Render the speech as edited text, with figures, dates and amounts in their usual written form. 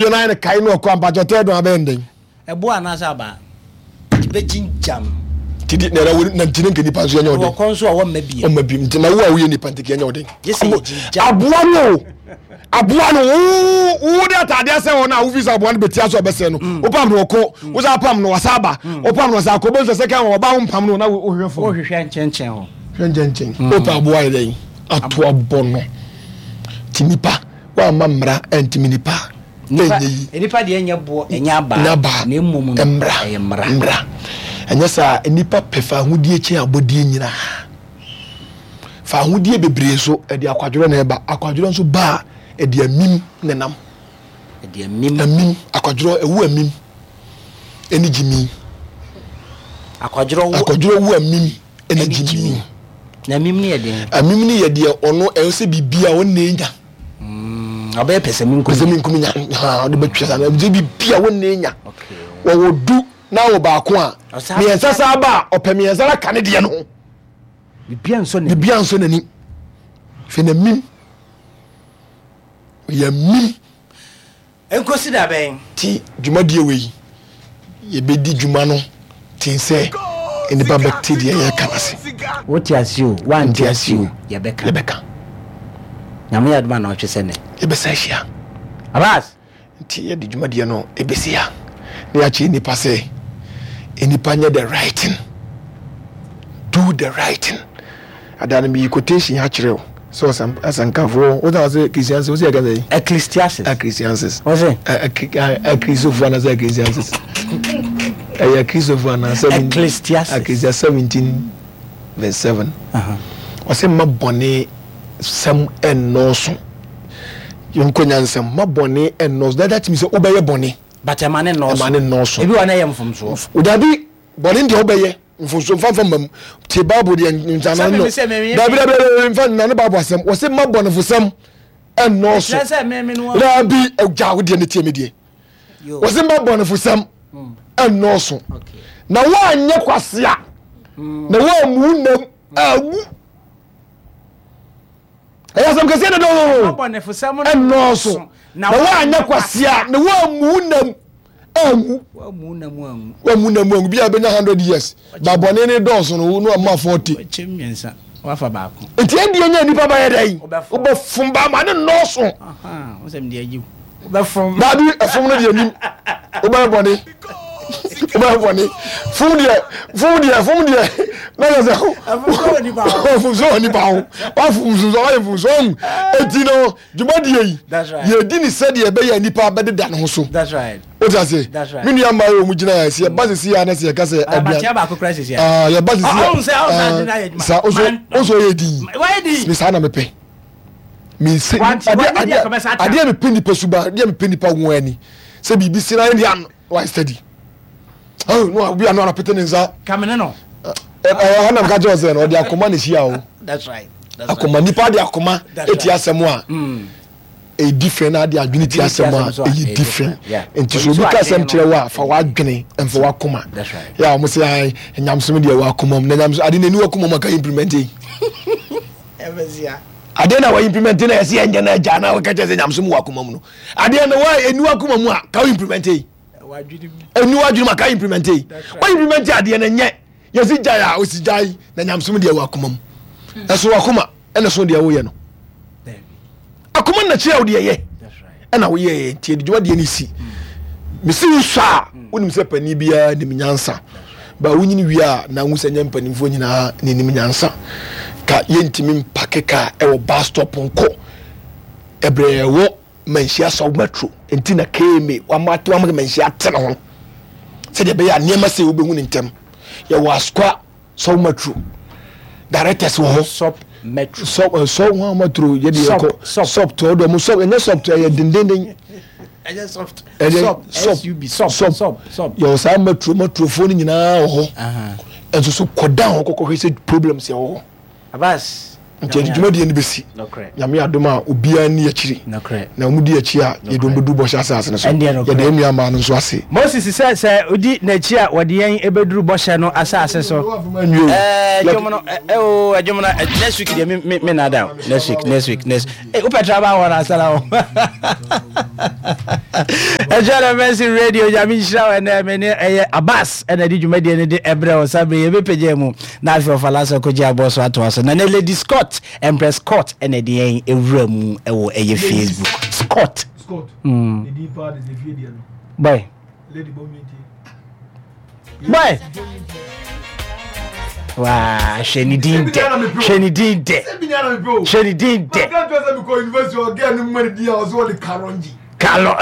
Yɛ nan no kae no ɔkɔ ampakyɛ ɔtɛ dɔn abɛyɛ ndɛn. Ɛboɔ anaasɛ abaa bɛgyingyam. Nti di na na na nti ne nka nipa nso yɛnyɛ ɔden. Wɔkɔ nso a wɔmma biem. Ɔmma biem nti na wo a woyɛ nipa nti ka yɛnyɛ ɔden. Gye sɛ yɛgyingyam. Aboa no o aboa no wo wo de ataade asɛ hɔ no a wofi sɛ aboa no bɛtia so ɔbɛsɛ no mm. wopam no ɔkɔ mm. wo sɛ apam no wasa aba mm. wopam no wasa akɔ bɛnso sɛ kan ɔba wo mpam no na wohwehwɛ fam. Wohwehwɛ nkyɛnkyɛn hɔ. Hwɛ nkyɛnkyɛn wopɛ aboa yɛ dɛn ato abɔ no ti nipa. Woamma mmara antimi nipa a, Nipa, ɛnyɛ yi. nipa deɛ nyɛ boɔ, ɛnyɛ abaa, Ɛnyɛ abaa. na mmom no, Mmara. ɛyɛ mmara. Mmara. Ɛnyɛ saa a, nnipa pɛ fahodie kyɛn abɔdeɛ nyinaa. Fahodie bebree nso, ɛde akwadworɔ na ɛba. Akwadworɔ nso ba a, ɛde amim na ɛnam. Ɛde amim. Amim, akwadworɔ, ɛwo amim ɛne gyimi. Akwadworɔ wo. Akwadworɔ wo amim. ɛna gyimi. Na amim no yɛ deɛn? Amim no yɛ deɛ ɔno ɛyɛ sɛ biribi a ɔnna enya. Mm, ɔbɛyɛ pɛsɛmenkominya. Pɛsɛmenkominya, ha ɔde bɛtwa saa na sɛ biribi a ɔnna enya. Wɔwɔ du na wɔ baako a mmiɛnsa saa ba a ɔpɛ mmiɛnsa na ka ne deɛ no ho. Biribi ansɔ n'ani. Biribi ansɔ n'ani. Hwɛ n'amim. Ɔyɛ amim. Enkosi da bɛn? Nti dwumadie wei yɛbɛdi dwuma no ten sɛ nnipa bɛte deɛ yɛreka no ase. Wote ase o, woante ase o, yɛbɛka. Yɛbɛka. Nyame yɛ adom a naɔtwe sɛ nɛ. Yɛbɛsan ahyia. Abass! Nti yɛde dwumadie no ɛbɛsi ha na yɛakyerɛ nnipa sɛ nnipa nyɛ the right thing. Do the right thing. Ada no meyi quotation ha kyerɛ wo sɛ ɔsɛm asɛnkafoɔ wo na ɔsɛ Christians wo sɛ yɛka sɛ Ecclesiastes. Ecclesiastes. Wo sɛ? Akristofoɔ anaasɛ Ecclesiastes. Ɛyɛ Akristofoɔ anaa Ecclesiastes. Ecclesiastes 17 verse 7. Ɔsɛ mma bɔne sɛm ɛnnɔɔso. Yɛnkɔ nyansɛm mma bɔne ɛnnɔɔso. That that means sɛ wobɛyɛ bɔne. But ɛma ne nnɔɔso. Ɛma ne nnɔɔso. Ebi wɔ na ɛyɛ mfomsoɔ. Dabi bɔne deɛ wobɛyɛ. Mfomso mfa mfa mma mu. Tie Bible deɛ nsana no. Dabi dabi dabi mfa nna ne Bible asɛm. Wɔsi mma bɔnefosɛm ɛnnɔɔso. Dabi agya wo deɛ ne tie me deɛ. Wɔsi mma bɔnefosɛm ɛnnɔɔso. Na woanyɛ kwasea. Na woammu nam awu. Ɛyɛ asɛm kɛseɛ dada o. Ɛnnɔɔso. Na woanyɛ kwasea. Na woammu nam anwu. Wamu na mu anwu. Wamu na mu anwu. Bi a bɛnya hundred years. Ba bɔne ne dɔɔso no no ama 40. Kyɛ mmiɛnsa wafa baako. Nti ɛdeɛ nya nipa bɛyɛ dɛn? Wobɛfom ba ma ne nnɔɔso. Wosɛm deɛ agye wobɛfom. Daabi ɛfom no deɛ nim. Wobɛyɛ bɔne. Wobɛyɛ bɔne. Fom deɛ fom deɛ fom deɛ na yɛ sɛ. Fom so wɔ nipa ho. Wafom so wayɛ fom so ɔhu. Eti no. Dwumadie yi, yɛdi ne sɛdeɛ ɛbɛyɛ a nnipa bɛdeda ne ho so. Wote ase? Me nua mmaa yi wɔn gyina yɛ sɛ yɛba sisi a na sɛ yɛka sɛ aduane. Yɛba sisi a sa oso oso yɛ din. Me saa na mepɛ. Me nse adeɛ adeɛ adeɛ mepɛ nipa suba adeɛ mepɛ nipa wɔn ani sɛ biribi si na yɛ deɛ wayɛ steady. Oh no obi ano anapete ne nsa. Kamene no. Ɛɛ ɛna mka kyerɛ sɛ no ɔde akoma na ehyia o. That's right. Akoma nipa de akoma eti asɛm a mm. ɛyɛ different na ade adwene ti asɛm a ɛyɛ different. Nti so obi ka asɛm kyerɛ wo a fa w'adwene mfa w'akoma. Yɛ a wɔn sɛ ayi nyamsom deɛ wɔ akoma mu na nyamsom ade n'ani wɔ akoma mu aka implement yi. Adeɛ na wɔ implement na yɛsɛ yɛnyɛ na agya na wɔka kyerɛ sɛ nyamsom wɔ akoma mu no. Adeɛ na wɔ aniwa akoma mu a ka implement yi. Ɛni w'adwene mu a ka implement yi. Wɔ implement adeɛ na nyɛ. Yɛsi gyae a osi gyae na nyamsom deɛ wɔ akoma mu. Ɛso wɔ akoma ɛna so deɛ woyɛ no. Akoma na kyerɛ wo deɛ yɛ ɛna woyɛ yɛ nti ɛde dwuma deɛ ne si. Mesi wo sɔ a wonim sɛ panin biara nim nyansa. Ba wonyini wie a na wohu sɛ nyɛ mpanimfoɔ nyinaa na ɛnim nyansa. Ka yɛntumi mpake kaa ɛwɔ bus stop nkɔ ɛbrɛ ɛwɔ Manhyia Sɔw Metro nti na KMA wama ato ama Manhyia ate ne ho sɛdeɛ ɛbɛyɛ a nneɛma sei wobɛhu ne ntɛm. Yɛwɔ Asukwa Sɔw Metro directors wɔ hɔ. Sɔp Metro. Sɔp eh, sɔw ho metro yɛ deɛ yɛkɔ. Sɔp. Sɔp to ɔdɔ mu sɔp ɛnyɛ sɔp to ɛyɛ dendenden. Ɛnyɛ soft. Ɛyɛ Sɔp. sɔp SUB. Sɔp. sɔp. Sɔp. Sɔp. Yɛwɔ saa metro metrofoɔ no nyinaa wɔ hɔ. Ɛnso so kɔ down hɔ kɔkɔhwɛ sɛ problems yɛ wɔ hɔ. Abbas. Nti yɛde dwumadie no bɛsi. Nyame adom a obiara nni akyiri. Na wɔn di akyi a yɛde wɔn bɛduru bɔhyɛ asase no so. Yɛda yɛn nua mmaa no nso ase. Moses sɛ sɛ odi n'akyi a wɔde yɛn bɛduru bɔhyɛ no asase so. Ɛdwom no oo ɛdwom no next week deɛ me me me nada o next week next week next ee wopɛ traba wɔ na asara o. Ɛkyɛ na Mercy Radio Nyame nhyira wo ɛnɛ me ne ɛyɛ Abbas ɛna de dwumadie no de ɛbrɛ wo sa bere yɛbɛpagya mu na afei ɔfa lasa kɔgye aboɔ so atoa so na ne Lady Scott Empress Scott ɛna ɛde yɛn ɛwura mu ɛwɔ ɛyɛ Facebook Scott. Scott. Boy. Boy. Waa hwɛ ne din dɛ hwɛ ne din dɛ hwɛ ne din dɛ. Kalɔ.